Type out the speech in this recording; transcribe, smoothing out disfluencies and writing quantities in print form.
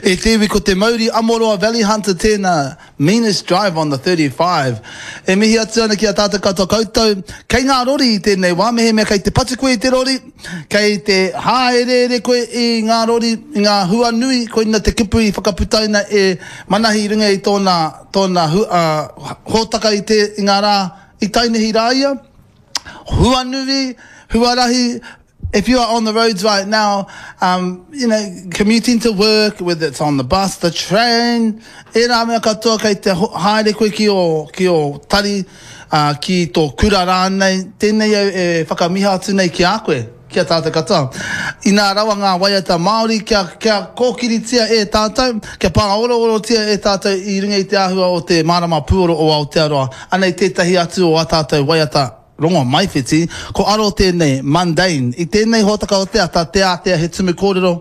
E te iwi ko te mauri Amoroa Valley Hunter tēnā, meanest drive on the 35. E mihi atu ana ki a tātou katoa koutou, kei ngā rori i tēnei wā, mehemea kei te patu koe i te rori, kei te hāereere koe i ngā rori, i ngā huanui, koina te kupu i whakaputaina e Manahi i runga i tōna, tōna hu, uh, hōtaka i te, i ngā rā i tainihi rā ia. Huanui, huarahi, if you are on the roads right now, um, you know, commuting to work, whether it's on the bus, the train, ērā mea katoa kei te haere koe ki ō, ki ō tari, uh, ki tō kura rānei, tēnei au e whakamiha atu nei ki a koe, ki a tātou katoa. Inā rawa ngā waiata Māori kia, kia kōkiritia e tātou, kia pāoroorotia e tātou i runga i te āhua o te mārama pūoro o Aotearoa. Anei tētahi atu o ā tātou waiata Rongomaiwhiti, ko Aro tēnei, mundane. I tēnei hōtaka o te ata, te ātea he tumu kōrero.